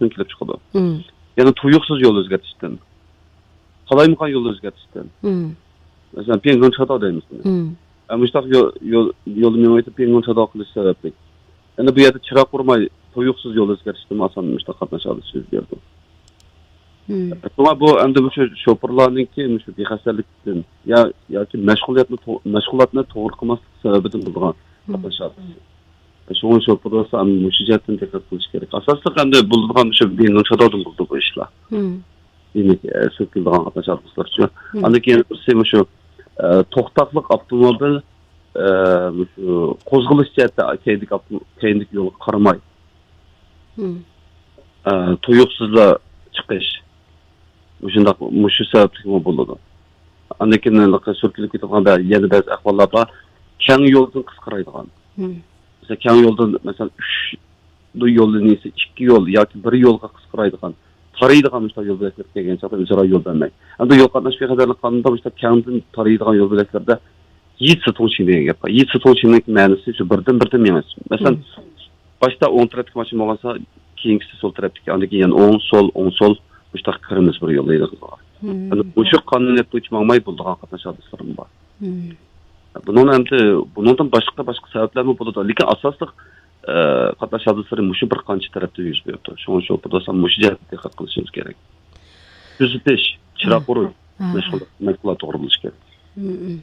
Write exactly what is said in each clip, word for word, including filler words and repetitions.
كېلىپ چىقىدۇ. مم. يەنى تۇيۇقسىز يول ئۆزگەرتىشتىن، قالايمىقان يول ئۆزگەرتىشتىن. مم. مەسىلەن، پيەنگون چاتاۋ دەيمىز بۇنى. مم. ئە، مۇشۇنداق يول، يول، يولنى مېڭىۋېتىپ پيەنگون چاتاۋ قىلىش سەۋەبلىك. يەنى بۇ يەردە چىراغ ئۇرماي، تۇيۇقسىز يول ئۆزگەرتىشتىنمۇ ئاسان مۇشۇنداق قاتناش ھادىسىسى يۈز بېرىدۇ. مم. شۇڭا بۇ ئەمدى مۇشۇ شوپۇرلارنىڭكى مۇشۇ بىخەستەلىكتىن يا، ياكى مەشغۇلاتنى تو-، مەشغۇلاتنى توغرا قىلماسلىق سەۋەبىدىن بولىدىغان مم. قاتناش ھادىسىسى. شۇڭا شوپۇرلار مۇشۇ جەھەتتىن دىققەت قىلىش كېرەك. ئاساسلىق ئەمدى بولىدىغان مۇشۇ بىنو شادادىن بولىدۇ بۇ ئىشلار. مم. دېمەك، ئە، سۈركىلىدىغان قاتناش ھادىسىلىرى شۇ. مم. ئاندىن كېيىن بىرسى مۇشۇ، ئە، توختاقلىق ئاپتوموبىل، ئە، مۇشۇ قوزغىلىش جەھەتتە كەينىدىكى ئاپتو-، كەينىدىكى يولغا قارىماي، مم. ئە، تۇيۇقسىزلا چىقىش. مۇشۇنداق، مۇشۇ سەۋەبلىكمۇ بولىدۇ. ئاندىن كېيىن سۈركىلىپ كېتىدىغان بە-، يەنە بەزى ئەھۋاللار بار. كەڭ يولدىن قىسقىرايدىغان. مم. مەسىلەن، كەڭ يولدىن، مەسىلەن، ئۈچ يول لىنىيىسى ئىككى يول ياكى بىر يولغا قىسقىرايدىغان، تارىيدىغان مۇشۇنداق يول بۆلەكلەر كەلگەن چاغدا ئۆزئارا يول بەرمەي. ئەمدى يول قاتناش بىخەتەرلىك قانۇنىدا مۇشۇنداق كەڭدىن تارىيدىغان يول بۆلەكلەردە يىتسى توڭشىڭ دېگەن گەپ بار. يىتسى توڭشىڭنىڭ مەنىسى شۇ بىردىن بىردىن مېڭىش. مەسىلەن، مم. باشتا ئوڭ تەرەپتىكى ماشىنا بولغانسا، كېيىنكىسى سول تەرەپتىكى، ئاندىن كېيىن يەنە ئوڭ، سول، ئوڭ، سول، مۇشۇنداق كىرىمىز بىر يولدا ھېلىقىغا. مم. ئەمدى مۇشۇ قانۇنىيەت بويىچە ماڭماي بولىدىغان قاتناش ھادىسىلىرىمۇ بار. مم. بۇنىڭ ئەمدى، بۇنىڭدىن باشقا، باشقا سەۋەبلەرمۇ بولىدۇ. لېكىن ئاساسلىق، ئە، قاتناش ھادىسىلىرى مۇشۇ بىر قانچە تەرەپتە يۈز بېرىدۇ. شۇڭا شوپۇردا مۇشۇ جەھەتتە دىققەت قىلىشىمىز كېرەك. تۈزىتىش، چىراغ ھا. ئۇرۇش، ھا، ھا. مەشغۇل-، مەشغۇلات توغرا بولۇشى كېرەك. مم.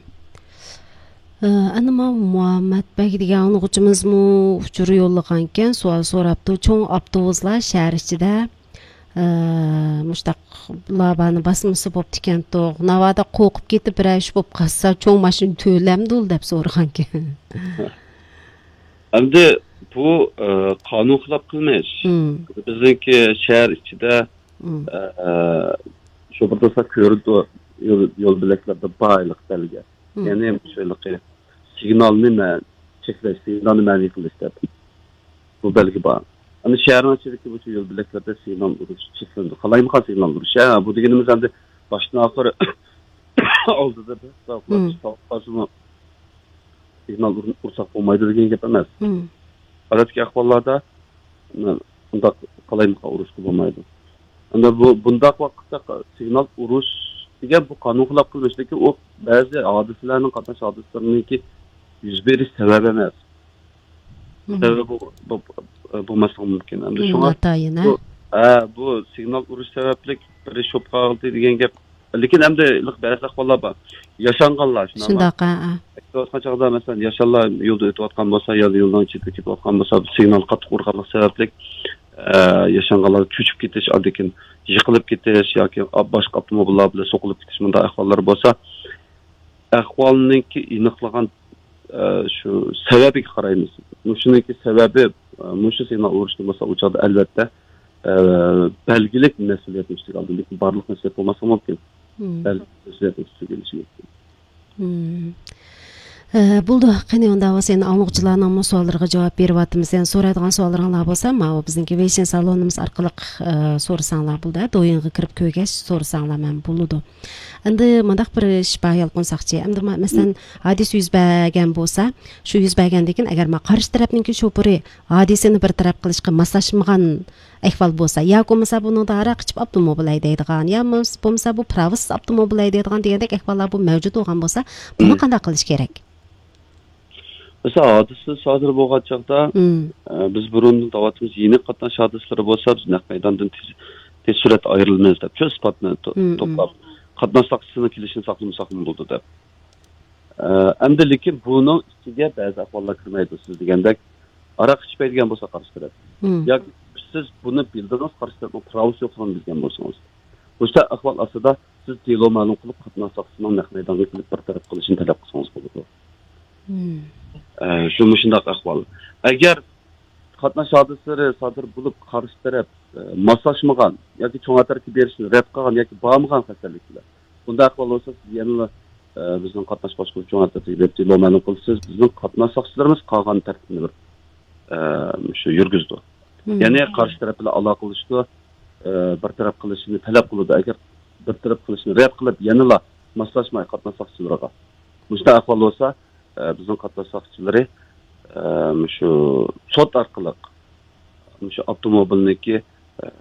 ئە، ئەنە ماۋۇ مۇھەممەت بەگ دېگەن ئاڭلىغۇچىمىزمۇ ئۇچۇر يوللىغانىكەن، سوئال سوراپتۇ. چوڭ ئاپتوبۇسلار شەھەر ئىچىدە، ئە، مۇشتاق لابانى باسمىسا بوپتىكەنتۇق. ناۋادا قورقۇپ كېتىپ بىرەر ئىش بولۇپ قالسا، چوڭ ماشىنا تۆلەمدۇ دەپ سورىغانىكەن. ئەمدى بۇ، ئە، قانۇن خىلاپ قىلمىش. مم. بىزنىڭكى شەھەر ئىچىدە، مم. ئە، شۇ بىر تۇرسا كۆرىدۇ، يول، يول بۆلەكلىرىدە بار ھېلىقى بەلگە. مم. يەنى شۇ ھېلىقى سىگنالنى مە-، چەكلەش، سىگنالنى مەنئى قىلىش دەپ بۇ بەلگە بار. ئەمدى شەھەرنىڭ ئىچىدىكى بۇ يول بۆلەكلىرىدە سىگنال ئۇرۇش چەكلىنىدۇ. قالايمىقان سىگنال ئۇرۇش. ھە، بۇ دېگىنىمىز ئەمدى باشتىن ئاخىر ئالدىدا بىر مم. سىگنال ئۇر-، ئۇرساق بولمايدۇ دېگەن گەپ ئەمەس. مم. ئادەتتىكى ئەھۋاللاردا، مم، ئۇنداق قالايمىقان ئۇرۇشقا بولمايدۇ. ئەمدى بۇ، بۇنداق ۋاقىتتا سىگنال ئۇرۇش دېگەن بۇ قانۇن خىلاپ قىلمىش، لېكىن ئۇ بەزى ھادىسىلەرنىڭ، قاتناش ھادىسىلىرىنىڭكى يۈز بېرىش سەۋەبى ئەمەس. مم. سەۋەبى بۇ، بۇ، بۇ، بولماسلىقى مۇمكىن. ئەمدى مم، شۇڭا ناتايىن، ھە؟ بۇ، ھە، بۇ سىگنال ئۇرۇش سەۋەبلىك بىر ئىش بولۇپ قالدى دېگەن گەپ. لېكىن ئەمدى بەزى ئەھۋاللار بار. ياشانغانلار، شۇنداقمۇ؟ شۇنداق، ھە، ھە. ئۆتۈۋاتقان چاغدا، مەسىلەن، ياشانلار يولدا ئۆتۈۋاتقان بولسا، يا يولنىڭ چېتىگە كېتىۋاتقان بولسا، سىگنال قاتتىق ئۇرغانلىق سەۋەبلىك، ئە، ياشانغانلار چۆچۈپ كېتىش، ئاندىن كېيىن يىقىلىپ كېتىش ياكى باشقا ئاپتوموبىللار بىلەن سوقۇلۇپ كېتىش، مۇنداق ئەھۋاللار بولسا، ئەھۋالنىڭكى ئېنىقلىغان، ئە، شۇ سەۋەبىگە قارايمىز. مۇشۇنىڭكى سەۋەبى، ئە، مۇشۇ سىگنال ئۇرۇشتىن بولسا، ئۇ چاغدا ئەلۋەتتە، ئە، بەلگىلىك مەسئۇلىيەتنى ئۈستىگە ئالىدۇ. لېكىن بارلىق مەسئۇلىيەت بولماسلىقى مۇمكىن. مم. بەلگىلىك مەسئۇلىيەتنى ئۈستىگە ئېلىشى مۇمكىن. مم. ئە، بولدى. قېنى، ئۇنداق بولسا، يەنە ئاڭلىغۇچىلارنىڭمۇ سوئاللىرىغا جاۋاب بېرىۋاتىمىز. يەنە سورايدىغان سوئاللىرىڭلار بولسا، ماۋۇ بىزنىڭكى ۋېيشىن سالونىمىز ئارقىلىق، ئە، سورىساڭلار بولدى. دويىنغا كىرىپ كۆرگەچ سورىساڭلار مەن بولىدۇ. ئەمدى مۇنداق بىر ئىش بار، يالقۇن ساقچى. ئەمدى ما-، مەسىلەن، ھادىسە يۈز بەرگەن بولسا، شۇ يۈز بەرگەندىن كېيىن، ئەگەر ما قارشى تەرەپنىڭكى شوپۇرى ھادىسىنى بىر تەرەپ قىلىشقا ماسلاشمىغان ئەھۋال بولسا، ياكى بولمىسا بۇنىڭدا ھاراق ئىچىپ ئاپتوموبىل ھەيدەيدىغان، يا بولمىسا بۇ پىراۋىسىز ئاپتوموبىل ھەيدەيدىغان دېگەندەك ئەھۋاللار بۇ مەۋجۇت بولغان بولسا، بۇنى مم. قانداق قىلىش كېرەك؟ مەسىلەن، ھادىسە سادىر بولغان چاغدا، مم. ئە، بىز بۇرۇندىن دەۋاتىمىز، يېنىك قاتناش ھادىسىلىرى بولسا، بىز نەق مەيداندىن تېز، تېز سۈرئەتتە ئايرىلىمىز دەپ، شۇ ئىسپاتنى تو-، مم، توپلاپ، مم. قاتناشچىسىنىڭ كېلىشىنى ساقلىمىساقمۇ بولىدۇ دەپ. ئە، ئەمدى لېكىن بۇنىڭ ئىچىگە بەزى ئەھۋاللار كىرمەيدۇ. سىز دېگەندەك، ھاراق ئىچمەيدىگەن بولسا قارشى تەرەپ. مم. ياكى سىز بۇنى بىلدىڭىز، قارشى تەرەپنىڭ پىراۋىسى يوقلۇقىنى بىلگەن بولسىڭىز. مۇشۇنداق ئەھۋال ئاستىدا سىز دېلو مەلۇم قىلىپ، قاتناش ساقچىسىنىڭ نەق مەيدانغا كېلىپ بىر تەرەپ قىلىشىنى تەلەپ قىلسىڭىز بولىدۇ. مم. ئە، شۇ مۇشۇنداق ئەھۋال. ئەگەر قاتناش ھادىسىلىرى سادىر بولۇپ، قارشى تەرەپ، ئە، ماسلاشمىغان ياكى چوڭ ئەترەتكە بېرىشنى رەت قىلغان ياكى بارمىغان خەتەرلىكلەر. بۇنداق ئەھۋال بولسا، سىز يەنىلا، ئە، بىزنىڭ قاتناش باشقۇرۇش چوڭ ئەترىتىگە بېرىپ دېلو مەلۇم قىلىسىز. بىزنىڭ قاتناش ساقچىلىرىمىز قالغان تەرتىپنى بىر، ئە، شۇ يۈرگۈزىدۇ. مم. يەنى قارشى تەرەپ بىلەن ئالاقىلىشىدۇ، ئە، بىر تەرەپ قىلىشىنى تەلەپ قىلىدۇ. ئەگەر بىر تەرەپ قىلىشنى رەت قىلىپ، يەنىلا ماسلاشماي قاتناش ساقچىلىرىغا، مۇشۇنداق ئەھۋال بولسا، ئە، بىزنىڭ قاتناش ساقچىلىرى، ئە، مۇشۇ سوت ئارقىلىق مۇشۇ ئاپتوموبىلنىڭكى،